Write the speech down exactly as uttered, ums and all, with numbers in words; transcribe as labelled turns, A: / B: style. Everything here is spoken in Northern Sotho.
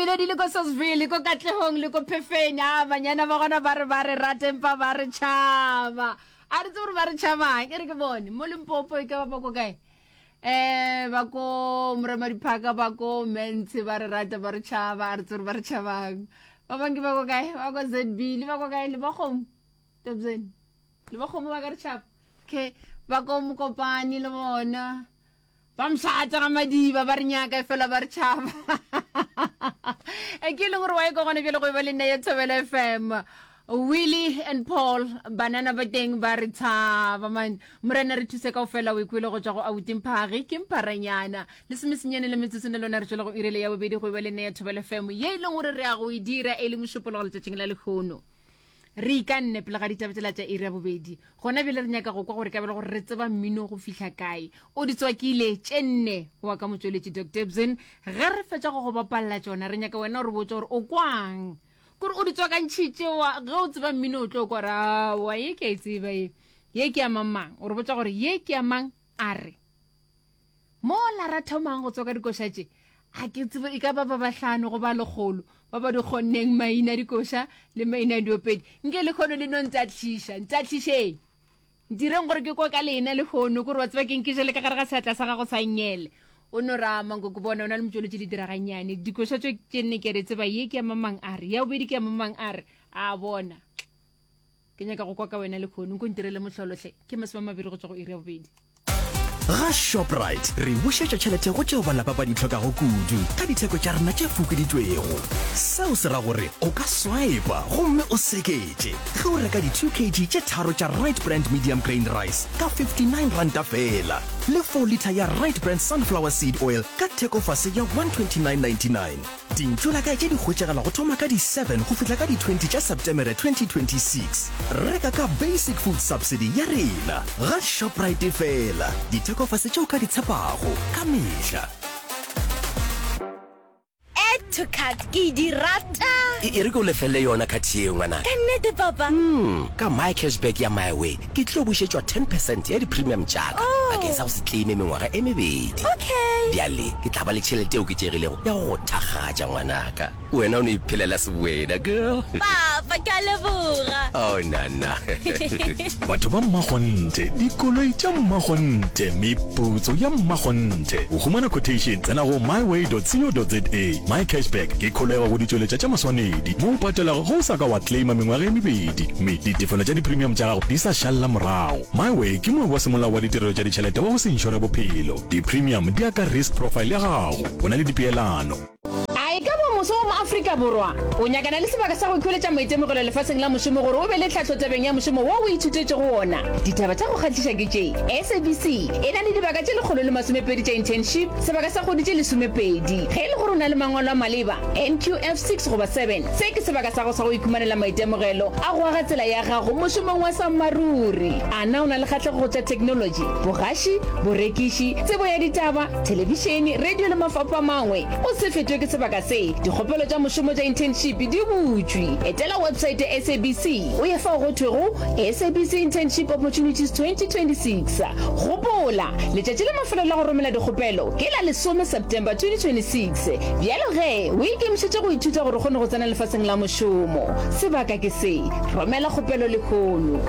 A: Mamelodi le ko Sosville ko Katlehong le ko Phefeng a banyana ba gona ba re ba re rata empa ba re tšhaba a re tsebe gore ba re tšhabang e re ke bone mo Limpopo e ka ba ba ko kae eh ba ko Moremadiphaka ba ko Mentshe ba re rata ba re tšhaba a re tsebe gore ba re tšhabang ba bangwe ke ba ko kae ba ko ZB le ba ko kae le ba kgomo Tobzeni le ba kgomo ba ka re tšhaba okay ba ko Mokopane le bona ba mšata ga madiba ba re nyaka fela ba re tšhaba e ke e leng gore wa e ka gona bjale go e ba le nna ya Thobela FM Willie and Paul banana ba teng ba re tshaba man morena re thuse kao fela o ikwele go tswa go abuti mphage ke mpharanyana lesomesenyane le metsotso ne lona re tswela go irele ya bobedi go e ba le nna ya Thobela FM ye e leng gore re ya go e dira e le mošupologo letšatšing la lehono re ikanne pele ga ditaba tsela tša iri ya bobedi gona bjale re nyaka go kwa gore ka bele gore re tseba mmino go fihla kae o di tswakile tše nne wa ka motšweletši Dr Ebzin ge re fetša go go bapalela tšona re nyaka wena o re botsa gore o kwang kore o di tswakantšhitše wa ge o tseba mmino o tlo kwa gore aowa ye ke a e tseba ye ye ke ya mang mang o re botsa gore ye ke ya mang a re mo la ra thomang go tswaka dikoša tše a ke tsebe e ka ba ba bahlano go ba lekgolo ba ba di kgonneng maina dikoša le maina diopedi nke le kgono le no ntatlhiša ntatlhišeng ntireng gore ke kwa ka lena le kgono kore wa tseba ke nkeje le ka gare ga seatla sa gago sa nyele o no rama nko ke bona o na le motšweletši di diraganyane dikoša tšo tše nne ke re tseba ye ke ya mamang a re ya bobedi ke ya mamang a re a bona ke nyaka go kwa ka wena le kgono nko ntirele mohlolohle ke masome a mabedi go tswa go iri ya bobedi
B: Ga Shoprite re bušetša tšhelete go tšeo balapa ba di hlokago kudu ka ditheko tša rena tše fokoditšwego. Seo se ra gore o ka swipa gomme o seketše ge o reka di two kg tše tharo tša Right Brand medium grain rice ka fifty-nine ranta feela le four litre ya Right Brand sunflower seed oil ka thekofase ya one twenty-nine ninety-nine. Dintšu la kae tše di hwetšagala go thoma ka di seven go fihla ka di twenty tša Septemere twenty twenty-six. Reka ka Basic Food Subsidy ya rena ga Shoprite fela. Dithekofase tše o ka di tshepago ka mehla.
C: Add to cart ke di rata.
D: E e re ke o lefelle yona card yeo ngwanaka.
C: Ka nnete papa?
D: Mm, ka My Cashback ya MiWay ke tlo bušetšwa ten percent ya di-premium tša ka bakeng sa go se claime mengwaga e mebedi.
C: Okay.
D: Bjale ke tla ba le tšhelete e oketšegilego ya go go thakgatša ngwanaka. Wena o no iphelela sewena girl.
C: Papa, ke a leboga.
D: Oh nana.
E: Batho ba mmakgonthe, dikoloi tša mmakgonthe, meputso ya mmakgonthe. Go humana quotation, tsena go myway dot co dot za. My Cashback ke kholego go ditšweletša tša maswanedi mo o patelago ge o sa ka wa claima mengwaga e mebedi mme ditefelo tša di-premium tša gago di sa šalela morago. MyWay ke moabi wa semolao wa ditirelo tša ditšhelete wa go se inšore bophelo. Di-premium di ya ka risk profile ya gago. Go na le dipeelano.
A: A e ka ba moso wa mo-Afrika Borwa o nyakana le sebaka sa go ikhweletša maitemogelo lefaseng la mošomo gore o be le tlhahlo tabeng ya mošomo wo o ithutetšego wona? Ditaba tša go kgahliša ke tše, S A B C e na le dibaka tše lekgolo le masomepedi tša internship, sebaka sa kgwedi tše lesomepedi. Ge e le gore o na le mangwalo a maleba, N Q F six goba seven, se ke sebaka sa gago sa go ikhumanela maitemogelo a go aga tsela ya gago mošomong wa sammaruri. A na o na le kgahlego go tša theknolotši, bogaši, borekiši, tsebo ya ditaba, thelebišene, radio le mafapha a mangwe? O se fetwe ke sebaka se. Dikgopelo tša mošomo tša internship di butšwe. Etela websaete ya S A B C o ye fao go thwego S A B C Internship Opportunities twenty twenty-six. Gopola, letšatši la mafelelo la go romela dikgopelo ke la lesome September twenty twenty-six. Bjalo ge, o ikemišetše go ithuta gore o kgone go tsena lefaseng la mošomo. Sebaka ke se. Romela kgopelo lehono.